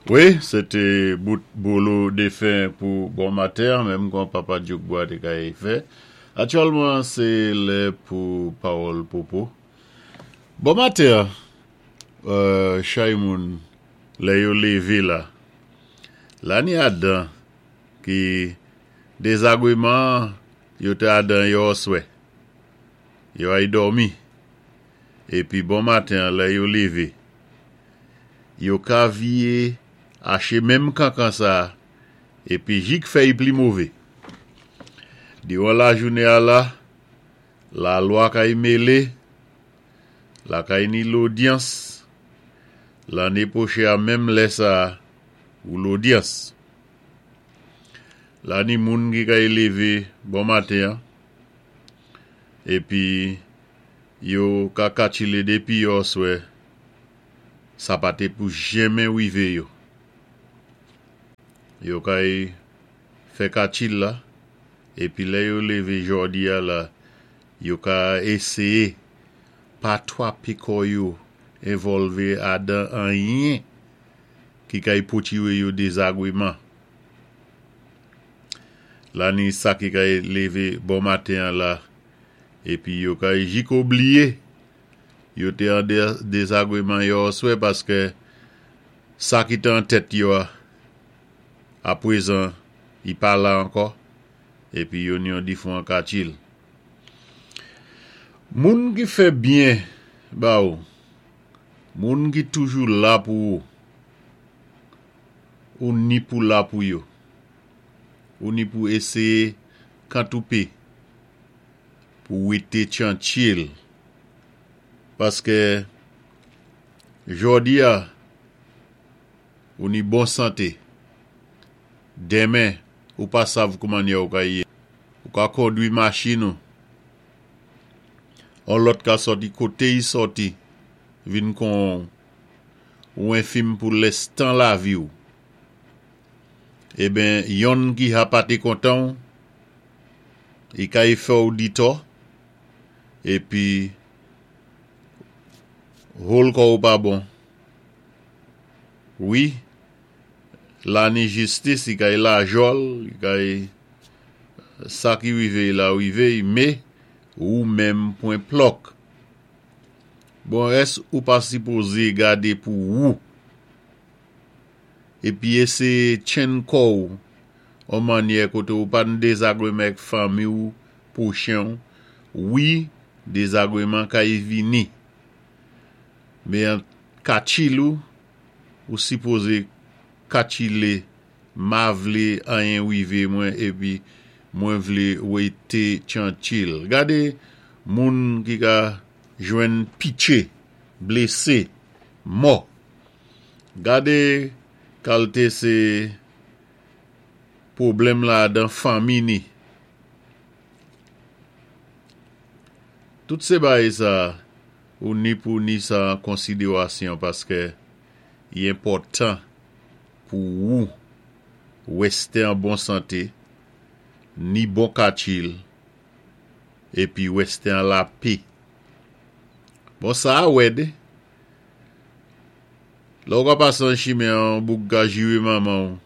Wi, sé té bout bolo défen pou bon maten an, menm kon Papa Dyoukbwa té kay fè. Aktyèlman sé lè pou pawòl Popo. Bon maten an, chay moun lè yo lévé la, la ni adan ki dézagweman yo té adan yèoswè, yo ay dòmi, épi bon maten an lè yo lévé, Yo ka vye ache menm kankan sa a epi jik fè y pli move. Diran lajounen a la, lalwa kay mele, lakay ni lodyans, lanne pwoche a menm lè sa a ou lodyans. La ni moun ki kay leve bon maten an epi yo ka katchile depi yòswè Sa pa té pou jenmen wivé yo. Yo kay fè katchil la, épi lè yo lévé jòdi a la, yo ka éséyé pa twapé kò yo envòlvé adan anyen ki kay pwotiwé yo dézagweman. La ni sa ki kay lévé bon maten an la, épi yo kay jiko bliyé Yo te an dezagreman yèoswè paske sa ki te an tèt yo a, aprezan li pa la ankò, epi yo ni yon difwan katchil. Moun ki fè byen ba ou, moun ki toujou la pou ou, ou ni pou la pou yo. Ou ni pou eseye kantoupe pou wete tchantchil. Paske jodi a ou ni bon sante, denmen ou pa sav koumannyè ou ka ye. Ou ka kondwi machin ou, on lòt ka sòti kote y sòti vin kon ou, ou enfim pou lèstan lavi ou. Eben yonn ki ha pa te kontan ou, i kay fè ou ditò, epi hol kò ou pa bon wi la ni jistis i kay lajòl i kay sa ki rive y la rive y me ou menm pwen plòk bon ès ou pa sipoze gade pou wou epi eseye tchenn kò ou on mannyè kote ou pa n dezagreman èk fanmi ou pwochen w wi dezagreman kay vini men an katchil ou ou sipoze katchile ma vle anyen rive mwen epi mwen vle wete tchantchil gade moun ki ka jwenn pitche blese mò gade kalte se pwoblèm ladan fanmi ni. Tout se bagay sa ou ni pou ni sa an konsiderasyon paske i enpòtan pou wou weste an bon sante, ni bon katchil, epi weste an lape. Bon sa a wèd. Lè ou ka pase an chimen an yon boug ka jire manman ou,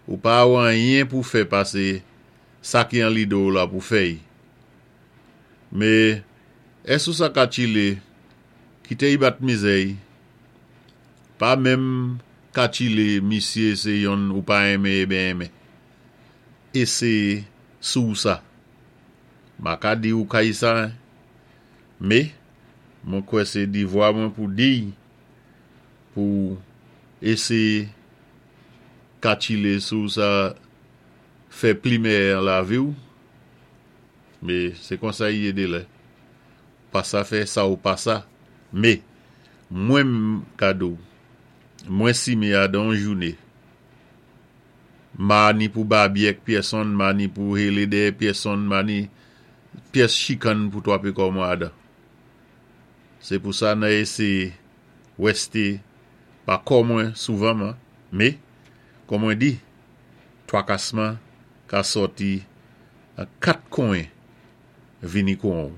ou pa wè anyen pou fè pase sa ki an lide w la pou fè y. Me, es ou sa ka tchile, kite y bat mizè y. Pa menm ka tchile misye se yonn ou pa enmen e ben enmen. Eseye sou w sa. Ma ka di ou kay sa, me, mwen kwè se divwa mwen pou di y pou eseye ka tchile sou sa fè pli mèyè an lavi w, me se konsa y ye delè pa sa fè sa ou pa sa, me mwen m ka di w mwen sime a dan yon joune ma ni pou babyèk pyèsonn ma ni pou hele dèyè pyèsonn ma ni pyès chikann pou twape kò mwen adan se pou sa nan eseye wèste pa kò mwen souvan man me kò mwen di. Twakasman ka sòti nan 4 konyen vini kon ou.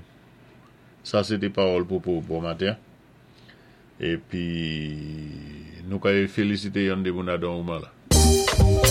Sa se te pawòl Popo bon maten. Epi Nou kay félisité yon dé moun adan ouman la.